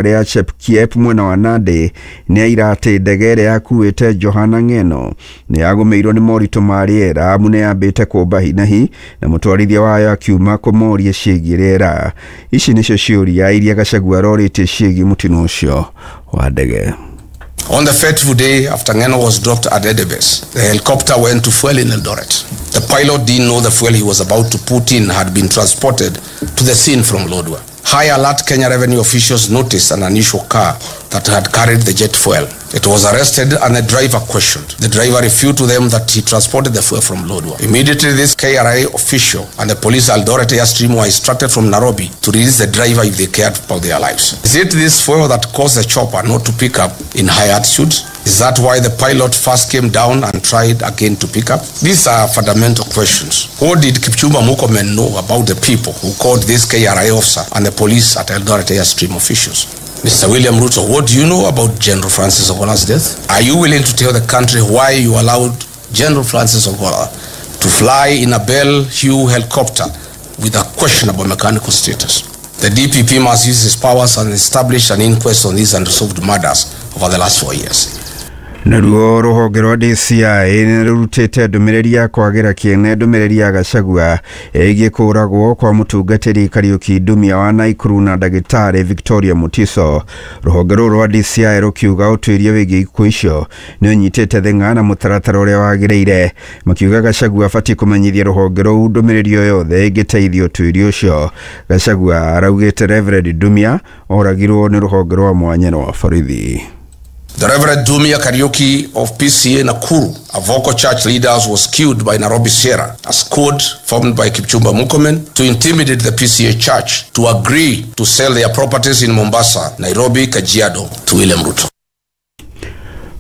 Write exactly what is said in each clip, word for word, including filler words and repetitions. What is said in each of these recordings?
Rĩa Chepkiep mwena wa Nandi nĩ aira atĩ ndege ĩrĩa yakuĩte Johana Ng'eno nĩ yagũmĩirwo nĩ moritũ ma rĩera amu nĩ yambĩte kũmba hinahi na mũtwarithia wayo akiuma kũmoria ciĩgiĩ rĩera. Ici nĩcio ciũria iria Gachagua arorĩtie ciĩgiĩ mũtino ũcio wa ndege. On the fateful day after Ngeno was dropped at Endebess, the helicopter went to fuel in Eldoret. The pilot didn't know the fuel he was about to put in had been transported to the scene from Lodwar. High alert Kenya revenue officials noticed an unusual car that had carried the jet fuel. It was arrested and the driver questioned. The driver refuted to them that he transported the fuel from Lodwar. Immediately, this K R A official and the police Eldoret Airstream were instructed from Nairobi to release the driver if they cared about their lives. Is it this fuel that caused the chopper not to pick up in high altitude? Is that why the pilot first came down and tried again to pick up? These are fundamental questions. What did Kipchumba Murkomen know about the people who called this K R A officer and the police at Eldoret Airstream officials? Mister William Ruto, what do you know about General Francis Ogola's death? Are you willing to tell the country why you allowed General Francis Ogola to fly in a Bell Hugh helicopter with a questionable mechanical status? The D P P must use his powers and establish an inquest on these unresolved murders over the last four years. Naruo rũhonge rwa D C I nĩ rũrutĩte ndũmĩrĩri ya kwagĩra kĩene ndũmĩrĩri ya Gachagua ĩgiĩ kũũragwo kwa mũtungatĩri Kariuki Ndumia wa Naikuru na ndagĩtarĩ Victoria Mutiso. Rũhonge rũrũ rwa D C I rũkiuga ũtuĩria wĩgiĩ ikuũ icio nĩ ũnyitĩte thing'a na mũtaratara ũrĩa wagĩrĩire, makiuga Gachagua abatiĩ kũmenyithia rũhonge rũu ndũmĩrĩri o yothe ĩngĩteithia ũtuĩria ũcio. Gachagua araugĩte Reverend Ndumia oragirwo nĩ rũhonge rwa mwanya rwa borithi. The Reverend Dumia Kariuki of P C A Nakuru, a vocal church leader, was killed by Nairobi Sierra, a squad formed by Kipchumba Murkomen to intimidate the P C A church to agree to sell their properties in Mombasa, Nairobi, Kajiado to William Ruto.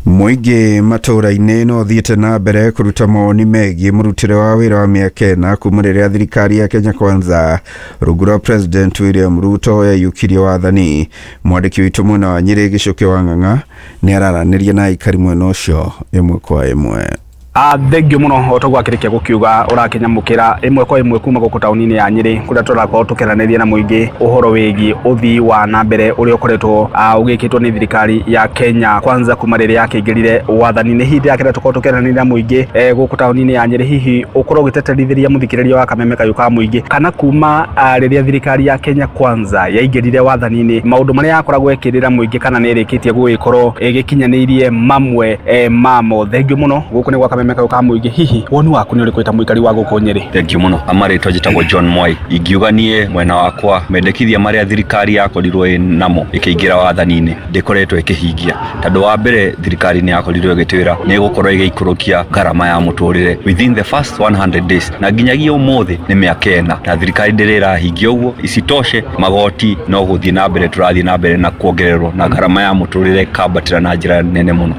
Mũingĩ matũũra-inĩ no ũthiĩte na mbere kũruta mawoni megiĩ mũrutĩre wa wĩra wa mĩaka ĩna kuma rĩrĩa thirikari ya Kenya Kwanza rungu rwa President William Ruto yaiyũkirie wathani. Mwandĩki witũ mwena wa Nyĩrĩ Gĩcũkĩ wa Ng'ang'a nĩ araranĩria na aikari mwena ũcio ĩmwe kwa ĩmwe. Ah, thengio muno o toguo akĩrĩkia gũkiuga ũrakĩnyamũkĩra ĩmwe kwa ĩmwe kuma gũkũ taũni-inĩ ya Nyĩrĩ kũrĩa tũrakorwo tũkĩaranĩria na mũingĩ ũhoro wĩgiĩ ũthii wa na mbere ũrĩa ũkoretwo ũgĩkĩtwo nĩ thirikari ya Kenya Kwanza kuma rĩrĩa yakĩingĩrire wathani-inĩ. Hihi ndĩrakĩenda tũkorwo tũkĩaranĩria na mũingĩ gũkũ taũni-inĩ ya Nyĩrĩ, hihi ũkorwo ũgĩteterithĩria mũthikĩrĩria wa Kameme Kayũ ka mũingĩ kana kuma rĩrĩa thirikari ya Kenya Kwanza yaingĩrire wathani-inĩ maũndũ marĩa yakoragwo ĩkĩrĩra mũingĩ kana nĩ ĩrĩkĩtie gũgĩkorwo ĩgĩkinyanĩirie mamwe mamo. Thengio mũno gũkũ nĩ gwa Kameme Kayũ ka mũingĩ. Hihi woni waku nĩ ũrĩkũ ta mũikari wa gũkũ Nyĩrĩ? Thank you mũno. Amarĩtwa njĩtagwo John Moi. Ingiuga niĩ mwena wakwa mendekithia marĩa thirikari yakorirwo ĩ namo ĩkĩingĩra wathani-inĩ ndĩkoretwo ĩkĩhingia, tondũ wa mbere thirikari nĩ yakorirwo ĩgĩtwĩra nĩ ĩgũkorwo ĩgĩikũrũkia ngarama ya mũtũrĩre within the first one hundred days, na nginyagia ũmũthĩ nĩ mĩaka ĩna na thirikari ndĩrĩ ĩrahingia ũguo. Isitoshe magoti no gũthiĩ na mbere tũrathiĩ na mbere na kuongererwo na ngarama ya mũtũrĩre ĩkambatĩra na njĩra nene mũno.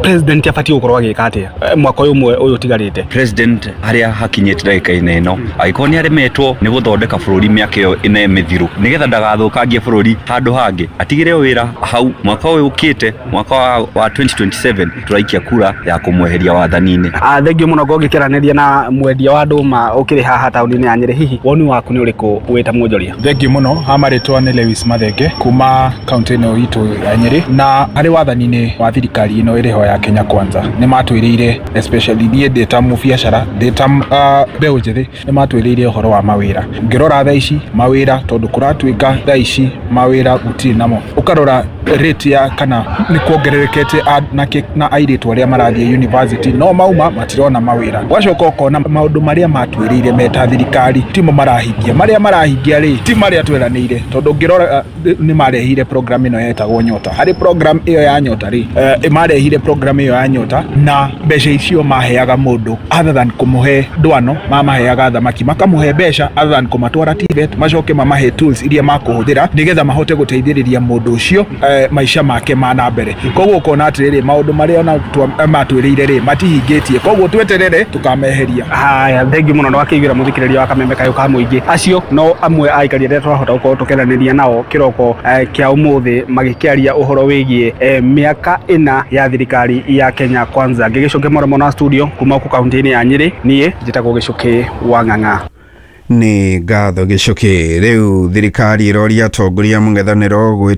President abatiĩ gũkorwo agĩka atĩa mwaka ũyũ ũmwe ũyũ ũtigarĩte? President harĩa hakinyĩte ndagĩka-inĩ ĩno angĩkorwo nĩ aremetwo nĩ gũthondeka bũrũri mĩaka ĩyo ĩna mĩthiru nĩgetha ndagathũkangie bũrũri handũ hangĩ, atigĩre wĩra hau. Mwaka ũyũ ũkĩte mwaka wa twenty twenty-seven tũraikia kura ya kũmweheria wathani-inĩ. Ah, thengio mũno ngũgĩkĩranĩria na mwendia wa ndũma ũkĩrĩ haha taũni-inĩ ya Nyĩrĩ. Hihi woni waku nĩ ũrĩkũ wĩ ta mwonjoria? Thengio mũno. Ha marĩtwa nĩ Lewis Mathenge kuma kaunti ĩno itũ ya Nyĩrĩ, na harĩ wathani-inĩ wa thirikari ĩno ĩrĩ ho ya Kenya Kwanza nĩ matwĩrĩire, especially niĩ ndĩ ta mũbiacara ndĩ ta mbeũ njĩthĩ, nĩ matwĩrĩire ũhoro wa mawĩra. Ngĩrora thaa ici mawĩra, tondũ kũratuĩka thaa ici mawĩra gũtirĩ namo, ũkarora rate ya kana nĩ kuongererekete na airĩtu arĩa marathiĩ university no mauma matirona mawĩra. Ũgacoka ũkona maũndũ marĩa matwĩrĩire meta thirikari timo marahingia, marĩa marahingia rĩ ti marĩa tweranĩire, tondũ ngĩrora nĩ marehire program ĩno yetagwo Nyota. Harĩ program ĩyo ya Nyota rĩ, marehire program ĩyo ya Nyota na mbeca icio maheaga mũndũ other than kũmũhe ndwano, mamaheaga thamaki, makamũhe mbeca other than kũmatwara T V E T, macoke mamahe tools iria makũhũthĩra nĩgetha mahote gũteithĩrĩria mũndũ ũcio maisha make ma na mbere. Koguo ũkona atĩrĩrĩ maũndũ marĩa ona matwĩrĩire rĩ matihingĩtie, koguo tweterere tũkameheria. Haya, thengio mũno na wakĩiguĩra mũthikĩrĩria wa Kameme Kayũ ka mũingĩ. Acio no amwe a aikari arĩa tũrahota gũkorwo tũkĩaranĩria nao kĩroko kĩa ũmũthĩ magĩkĩaria ũhoro wĩgiĩ mĩaka ĩna ya thirikari ya Kenya Kwanza. Ngĩgĩcokia mũromo na studio kuma gũkũ kaunti-inĩ ya Nyĩrĩ, niĩ njĩtagwo Gĩcũkĩ wa Ng'ang'a. Nĩ ngatho Gĩcũkĩ. Rĩu thirikari ĩroria atongoria mũng'ethanĩro gwĩ